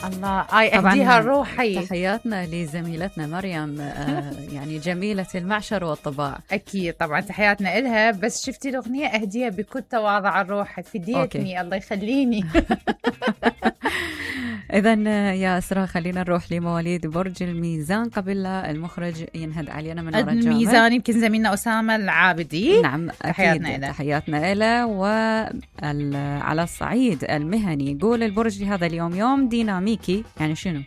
الله أهديها روحي. تحياتنا لزميلتنا مريم يعني جميلة المعشر والطباع. أكيد طبعا تحياتنا إلها. بس شفتي الأغنية أهديها بكل تواضع الروح، فديتني الله يخليني. إذن يا أسراء خلينا نروح لمواليد برج الميزان قبل لا المخرج ينهد علينا من وراء الجامع. الميزان يمكن زميلنا أسامة العابدي. نعم تحياتنا إله. وعلى الصعيد المهني يقول البرج لهذا اليوم يوم ديناميكي. يعني شنو؟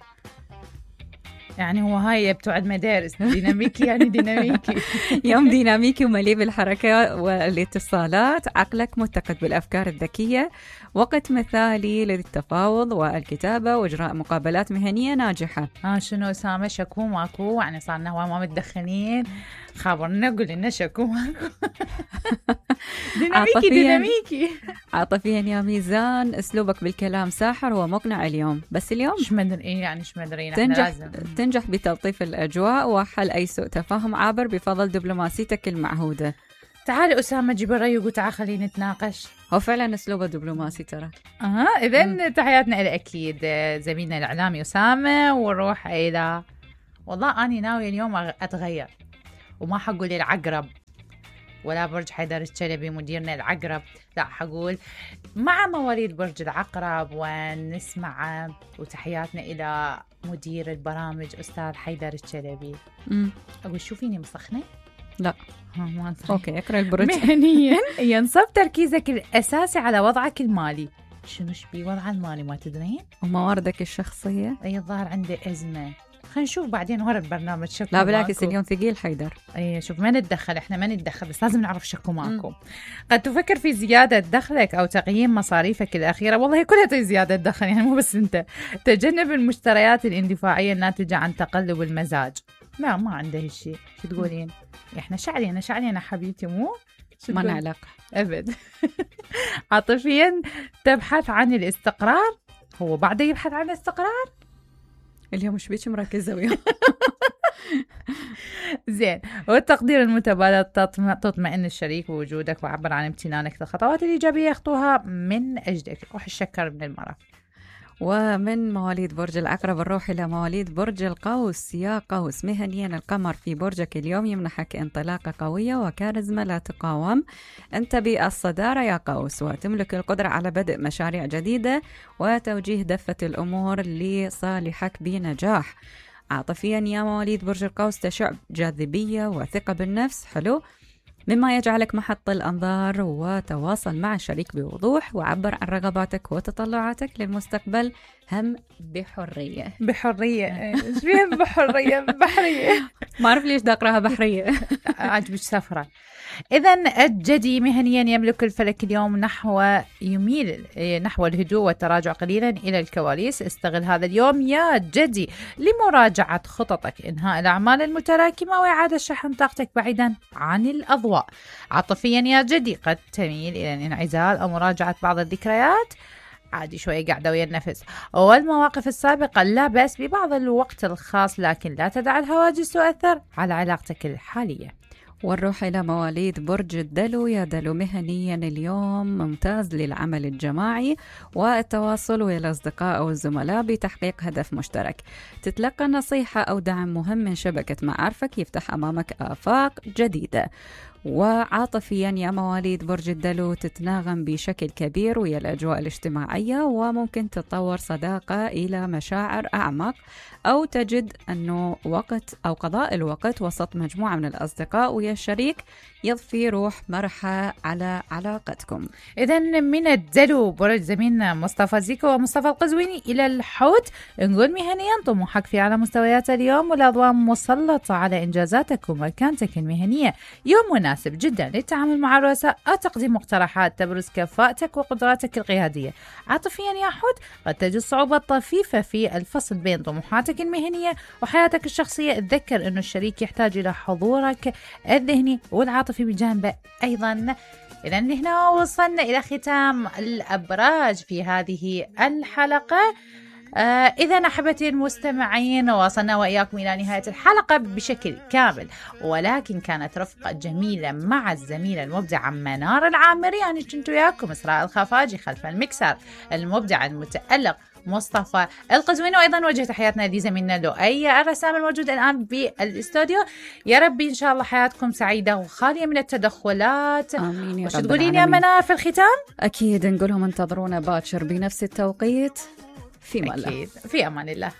يعني هو هاي بتوعد مدارس ديناميكي يعني ديناميكي. يوم ديناميكي ومليء بالحركة والاتصالات، عقلك متقد بالأفكار الذكية، وقت مثالي للتفاوض والكتابة وإجراء مقابلات مهنية ناجحة. شنو أسامة شكو ماكو؟ يعني صارنا هو ما متدخلين، خابرنا قول لنا شكو ماكو. ديناميكي. عاطفيا يا ميزان أسلوبك بالكلام ساحر ومقنع اليوم، بس اليوم تنجح بتلطيف الأجواء وحل أي سوء تفاهم عابر بفضل دبلوماسيتك المعهودة. تعال أسامة جيب الرأي وتعال خلينا نتناقش. هو فعلا أسلوبه دبلوماسي ترى. إذن تحياتنا إلى أكيد زميلنا الإعلامي أسامة. ونروح إلى والله أنا ناوي اليوم أتغير وما حقول العقرب ولا برج حيدر الشلبي مديرنا العقرب، لا حقول مع مواليد برج العقرب ونسمع. وتحياتنا إلى مدير البرامج أستاذ حيدر الشلبي. أقول شوفيني مسخنة؟ لا ما أوكي اقرأ البرج. مهنيا ينصب تركيزك الأساسي على وضعك المالي. شنو شبي وضع المالي ما تدرين؟ ومواردك الشخصية؟ أي الظاهر عندي أزمة. خلينا نشوف بعدين ورا البرنامج شكو. لا بالعكس اليوم ثقيل حيدر. اي شوف ما نتدخل، احنا ما نتدخل، بس لازم نعرف شكو ماكو. قد تفكر في زيادة دخلك أو تقييم مصاريفك الأخيرة. والله كلها زيادة دخل يعني مو بس أنت. تجنب المشتريات الاندفاعية الناتجة عن تقلب المزاج. لا ما عنده هالشيء. شو تقولين؟ احنا شعلينا حبيبتي مو ما نعلق أبد. عاطفيا تبحث عن الاستقرار. هو بعده يبحث عن الاستقرار اليوم مش بيش مركزة وياه. زين. والتقدير المتبادل تطمئن الشريك بوجودك وعبر عن امتنانك للخطوات الإيجابية يخطوها من أجلك. روح الشكر من المرة. ومن مواليد برج العقرب نروح إلى مواليد برج القوس. يا قوس مهنيا القمر في برجك اليوم يمنحك انطلاقة قوية وكاريزما لا تقاوم. أنت بالصدارة يا قوس وتملك القدرة على بدء مشاريع جديدة وتوجيه دفة الأمور لصالحك بنجاح. عاطفيا يا مواليد برج القوس تشع جاذبية وثقة بالنفس حلو مما يجعلك محط الأنظار، وتواصل مع الشريك بوضوح وعبر عن رغباتك وتطلعاتك للمستقبل هم بحرية. ايش فيها بحرية ما أعرف ليش داقرها بحرية. عجبك سفرة. إذن الجدي مهنيا يملك الفلك اليوم يميل نحو الهدوء والتراجع قليلا إلى الكواليس. استغل هذا اليوم يا جدي لمراجعة خططك، إنهاء الأعمال المتراكمة وإعادة شحن طاقتك بعيدا عن الأضواء. عاطفيا يا جدي قد تميل إلى الانعزال أو مراجعة بعض الذكريات. عادي شوية قاعدة ويا النفس والمواقف السابقة. لا بأس ببعض الوقت الخاص، لكن لا تدع الهواجس تؤثر على علاقتك الحالية. ونروح إلى مواليد برج الدلو. يا دلو مهنيا اليوم ممتاز للعمل الجماعي والتواصل ويا الأصدقاء أو الزملاء بتحقيق هدف مشترك. تتلقى نصيحة أو دعم مهم من شبكة معارفك يفتح أمامك آفاق جديدة. وعاطفيا يا مواليد برج الدلو تتناغم بشكل كبير ويا الأجواء الاجتماعية وممكن تتطور صداقة إلى مشاعر أعمق، أو تجد أنه وقت أو قضاء الوقت وسط مجموعة من الأصدقاء ويا الشريك يضفي روح مرحة على علاقتكم. إذن من الدلو برج زميلنا مصطفى زيكو ومصطفى القزويني إلى الحوت. نقول مهنيا طموحك في أعلى مستويات اليوم والأضواء مسلطة على إنجازاتك ومكانتك المهنية. يوم مناسب جدا للتعامل مع الرؤساء أو تقديم مقترحات تبرز كفاءتك وقدراتك القيادية. عاطفيا يا حوت قد تجد صعوبة طفيفة في الفصل بين طموحاتك المهنية وحياتك الشخصية. تذكر أنه الشريك يحتاج إلى حضورك الذهني والعاطفي بجانبه أيضا. إذا هنا وصلنا إلى ختام الأبراج في هذه الحلقة. إذا أحبتي المستمعين وصلنا وإياكم إلى نهاية الحلقة بشكل كامل، ولكن كانت رفقة جميلة مع الزميلة المبدعة منار العامري. أنا كنت وياكم إسراء الخفاجي، خلف المكسر المبدع المتألق مصطفى القزويني، وأيضا وجه تحياتنا لزميلنا لؤي الرسام الموجود الآن بالاستوديو. يا ربي إن شاء الله حياتكم سعيدة وخالية من التدخلات. آمين يا وش رب تقولين يا العالمين. منار في الختام؟ أكيد نقولهم انتظرونا باكر بنفس التوقيت في ماله. أكيد، في أمان الله.